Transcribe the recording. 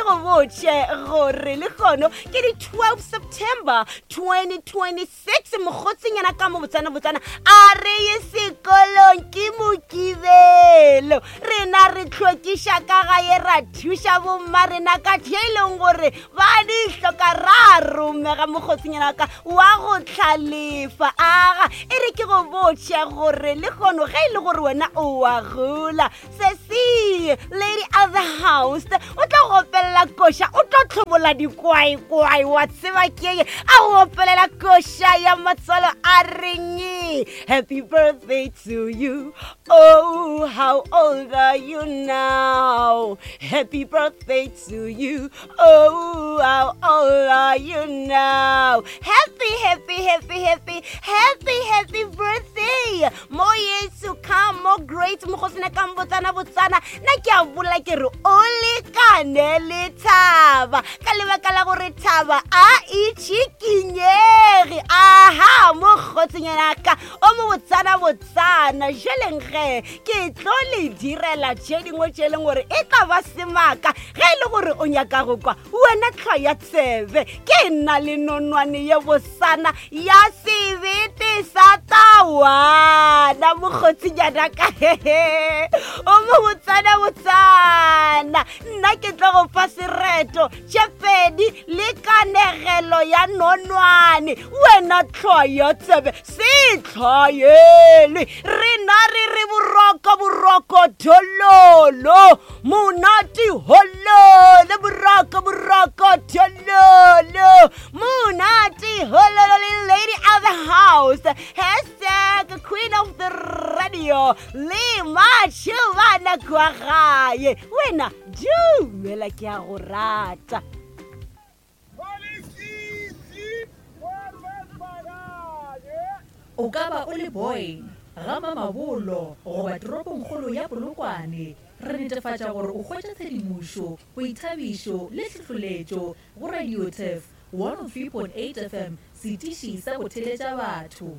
go botše gore lehono ke di 12 September 2026. Mokgotsinyana ka mo botsana botsana a re ye sekolong ke Mokibelo. Rena re tlhwekiša ka gae ra thuša bomma rena ka tše e leng gore ba di hloka ra romega mokgotsinyana ka wa go tlhalefa. Aga e re ke go botše gore lehono ge e le gore wena o wa gola sesi lady of the house o tlo go opelela koša, o tlo tlhobola dikwaekwae wa tseba keye a go opelela koša ya matswalo a reng happy birthday to you, oh how old are you now, happy birthday to you, oh how old are you now, happy happy happy happy happy happy birthday, more years to come, more great mokgosina ka botsana botsana. Nna ke a bolela ke re o lekane le thaba ka lebaka la gore thaba a itšhikinyege. Aha mokgotsinyana ka o mo botsana botsana, jeleng ge ke tlo le direla tše dingwe tše e leng gore e tla ba semaka. Ge e le gore o nyaka go kwa wena tlhwa ya tsebe, ke nna le nonwane ye bosana ya sebete sa tawana mokgotsinyana ka hehe o mo botsana botsana. Nna ke tlo go fa sereto tše pedi le kanegelo ya nonwane, wena tlhwa ya tsebe se tlhwaelwe. Rena re re boroko boroko thololo monate hololo, boroko boroko thololo monate hololo le lady of the house hashtag queen of the radio le matšhobana kwa gae. Wena dumela, ke a go rata. O ka ba o le Boyne, ga Mamabolo goba toropongkgolo ya Polokwane, re netefatša gore o hwetša tshedimošo, boithabišo le hlohloletšo go Radio Turf 103.8 FM, setiši sa go theletša batho.